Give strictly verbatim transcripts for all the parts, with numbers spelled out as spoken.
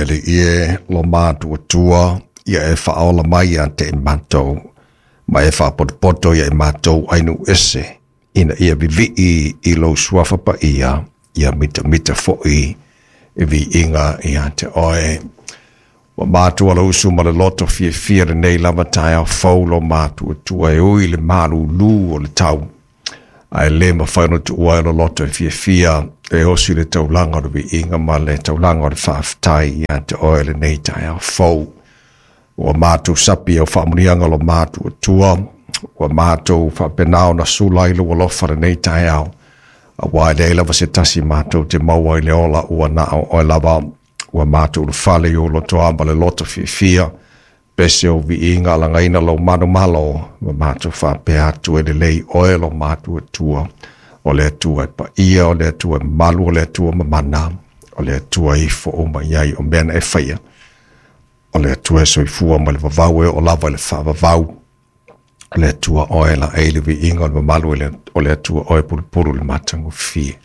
Alii e lo matuatua ia e faaola mai ia te i matou ma e faapotopoto ia i matou ainu ese ina ia vivii i lou suafa paia ia mitamita fo'i i viiga ia te oe. Ua matua lou usu ma le loto fiafia lenei lava taeao fou lo matuatua e ui le malūlū o le tau ae lē mafai ona tuua ai lo loto e fiafia e osi le taulaga o le viiga ma le taulaga o le faafetai ia te oe lenei taeao fou. Ua matou sapi au faamuniaga lo matuatua ua matou faapena ona sula ai lou alofa lenei taeao auā e leai lava se tasi matou te maua i le ola ua na o oe lava. Ua matou ulufale i ou lotoa ma le loto fiafia pese o viiga alagaina lou manumalo ma matou faapea atu e lelei oe lo matuatua o le Atua e paia o le Atua e mamalu o le Atua mamana o le Atua e ifo uma i ai o mea na e faia o le Atua e soifua mai le vavau e oo lava i le faavavau o le Atua oe laei le viiga o le mamalu o le Atua oe pulupulu le matagofie.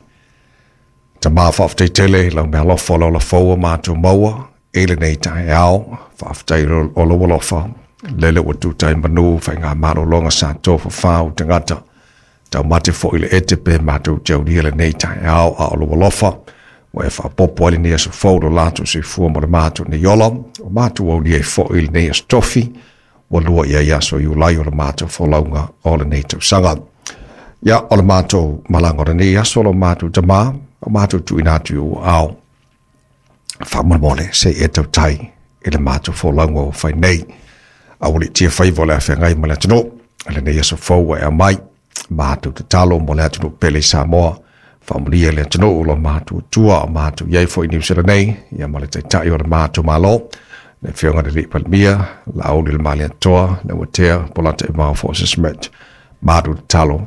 Tama faafetai tele i lau meaalofa o le ola fou ua matou maua i lenei taeao. Faafetai o lou alofa lele ua tuta ai manu faigamalologa sa tofafā o tagata taumate foi le ete pe matou te aulia lenei taeao a o lou alofa ua e faaopoopo ai lenei aso fou lo latou soifua ma le matou nei ola o matou aulia ai foi lenei aso tofi ua lua i ai aso Iulai o le matou folauga o lenei tausaga. Ia o le matou malaga o lenei aso lo matou tamā o matou tuuina atu i ou aao faamolemole se i e tautai i le matou folauga ua fai nei. Aualiitia faiva o le afeagai ma le atunuu lenei aso fou ua e aumai matou tatalo mo le atunuu pele i Samoa faamanuia le atunuu lo matuatua o matou i ai foi i Niu Sila nei ia ma le taitai o le matou Malo le Afioga i le Alii Palemia Laauli le Malietoa le Uatea Polataivao Fosi Smith. Matou tatalo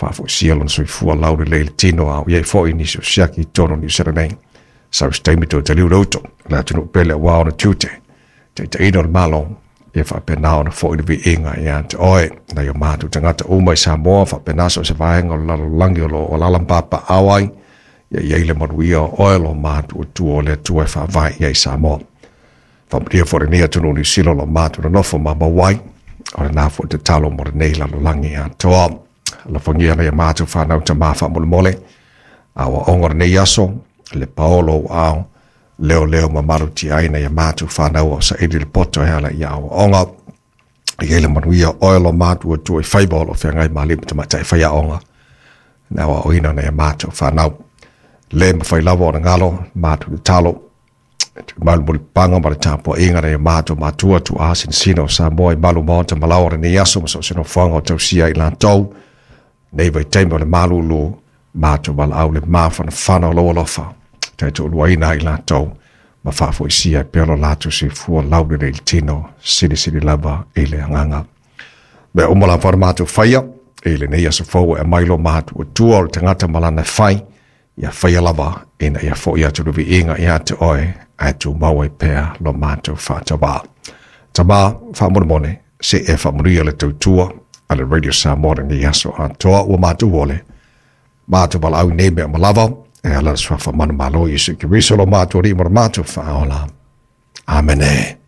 faafoisia lona soifua laulelei le tino a o i ai foi nisi o siaki i totonu o Niu Sila nei. Sau se taimi toe taliu le uto le atunuu pele auā ona tiute taitaiina o le Malo ia faapena ona foi le viiga ia te oe nai o matou tagata uma i Samoa faapena so o se vaega o le lalolagi o lo o alaala ma papaaao ai ia i ai le manuia o oe lo matuatua o le Atua e faavae i ai Samoa. Faamanuia foi lenei atunuu Niu Sila o lo o matou nonofo ma mau ai o lena foi tatalo mo lenei lalolagi atoa. Alofagia nai a matou fanau tamā faamolemole aoaoga o lenei aso le paolo o ao leo leo ma malutia ai nai a matou fanau o saili le poto e ala i aoaoga. I ai le manuia oe lo matuatua i faiva o lo o feagai ma alii ma tamaitai faiaoga na aoaoina nai a matou fanau. Le mafai lava ona galo matou tatalo malu ma le tapuaiga nai a matou matua tuaa sinasina o Samoa i malu maota ma laoa o lenei aso ma so o se nofoaga o tausia i latou nei vaitaimi o le malūlū matou valaau le mafanafana o lou alofa taitoaluaina ai latou ma faafoisia e pea lo latou soifua laulelei i le tino silisili lava i le agaga. Mea uma lava ona matou faia i lenei aso fou e aumai lo matuatua o le tagata ma lana e fai ia faia lava ina ia fo'i atu le viiga ia te oe ae tumau ai pea lo matou faatauā. Tamā faamolemole se e faamanuia le tautua a le Radio Samoa lenei aso atoa ua matou ole matou valaau nei mea uma lava e ala le suafa manumalo Iesu Keriso lo matou Alii ma lo matou Faaola. Amene.